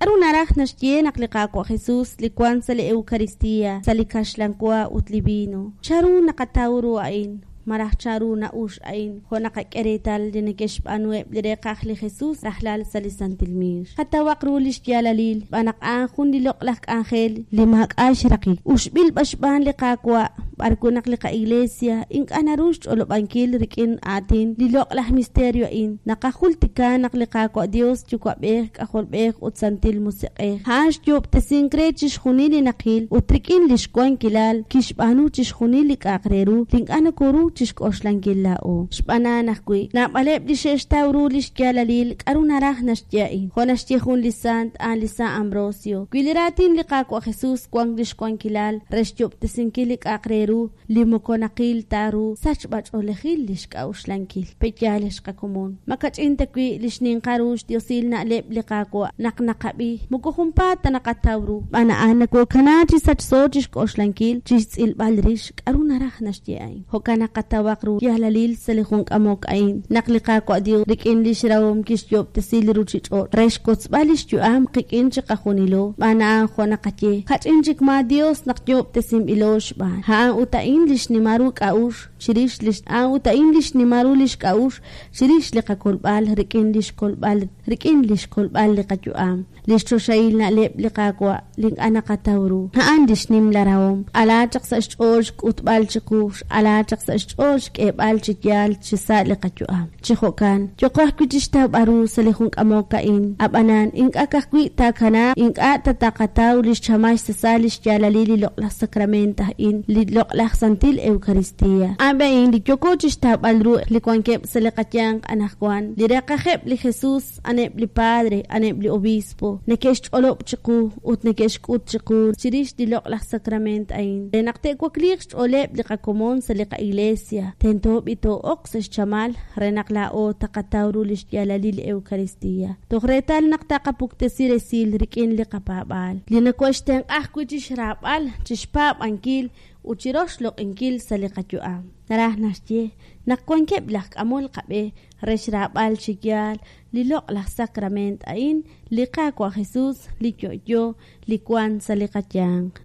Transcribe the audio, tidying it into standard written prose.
K'a'ru naraj naxye naq li Qaawa' Jesus li wan sa' li Eucaristia, sa' li kaxlan wa ut li vino? Chan ru naqataw ru a'in? Malaj chan ru na'ux a'in jo' naqak'e reetal li neke'xb'aanuheb' li reeqaj li Jesus rajlal sa' li santil miix? Qatawaq ru lix yaalalil, xb'aan naq a'an jun li loq'laj k'anjel li maak'a' xraqik, uxb'il b'an xb'aan li Qaawa', b'ar wi' naq li qaIglesia ink'a' naru xch'olob'ankil rik'in aatin li loq'laj misterio a'in. Naqajultika naq li Qaawa' Dios, Yuwa'b'ej, K'ajolb'ej, ut Santil Musiq'ej, a'an xyo'ob'tesink re chixjunil li naqil, ut rik'in lix wankilal kixb'aanu chixjunil li k'a'aq re ru li ink'a' nokoru chixk'oxlankil laa'o. Xb'aan a'an ajwi', naab'aleb' li xe'xtaw ru lix yaalalil k'a'ru naraj naxye a'in. Jo' naxye jun li sant, a'an li San Ambrosio, Wi li raatin li Qaawa' Jesus wank lix wankilal re xyo'ob'tesinkil li k'a'aq re ru li moko naqil ta ru, sachb'a-ch'oolejil lix k'a'uxlankil. Pe' yaal ex qakomon? Ma kach'in ta wi' li xninqal ru xdiosil na'leb' li Qaawa' naq naqab'i, moko junpaat ta naqataw ru, xb'aan a'an nokokana chi sachso chixk'oxlankil, chixtz'ilb'al rix k'a'ru naraj naxye a'in. Jo'kan naq qatawaq ru yaalalil sa' li jun k'amok a'in, naq li Qaawa' Dios rik'in lix rahom kixyo'ob'tesi li ruchich'och' re xwotzb'al lix yu'am qik'in chiqajunilo, xb'aan a'an jo' naqaye, kach'in chik maa Dios naq yo'ob'tesinb'ilo xb'aan. A'an ut a'in li xnimal ru k'a'uxl chirix lix A'an ut a'in li xnimal ru lix k'a'uxl chirix li qakolb'al rik'in lix kolb'al rik'in lix kolb'al li qayu'am. Lix choxahil na'leb' li Qaawa' li ink'a' naqataw ru, a'an lix nimla rahom. X'ala chaq sa' xch'ool xk'utb'al chiqu, x'ala chaq sa' xch'ool xk'eeb'al chi yaal chi sa' li qayu'am. Chi jo'kan, yooqo ajwi' chixtawb'al ru sa' li jun k'amok a'in. A'b'anan, ink'a' ka'ajwi' taakanaaq, ink'a' ta taqataw lix chamal xsasal lix yaalalil li loq'laj sakrament a'in, li loq'laj Santil Eucaristia. A'an a'in li yooko chixtawb'al ru li wankeb' sa' li qayanq anajwan, li reeqajeb' li Jesus, aneb' li padre, aneb' li obispo, neke'xch'olob' chiqu ut neke'xk'ut chiqu chirix li loq'laj sakrament a'in. Re naq te'wakliiq xch'ooleb' li qakomon sa' li qa'iglesia, tento b'i too'oq sa' xchamal re naq laa'o taqataw ru lix yaalalil li Eucaristia, toj reetal naq taqapuktesi resil rik'in li qapaab'aal, li nokoxtenq'a ajwi' chixraab'al, chixpaab'ankil, ut chiroxloq'inkil sa' li qayu'am. Naraj naxye naq wankeb' laj k'amol qab'e re xraab'al chi yaal li loq'laj sakrament a'in, li Qaawa' Jesus, li yo'yo, li wan sa' li qayanq.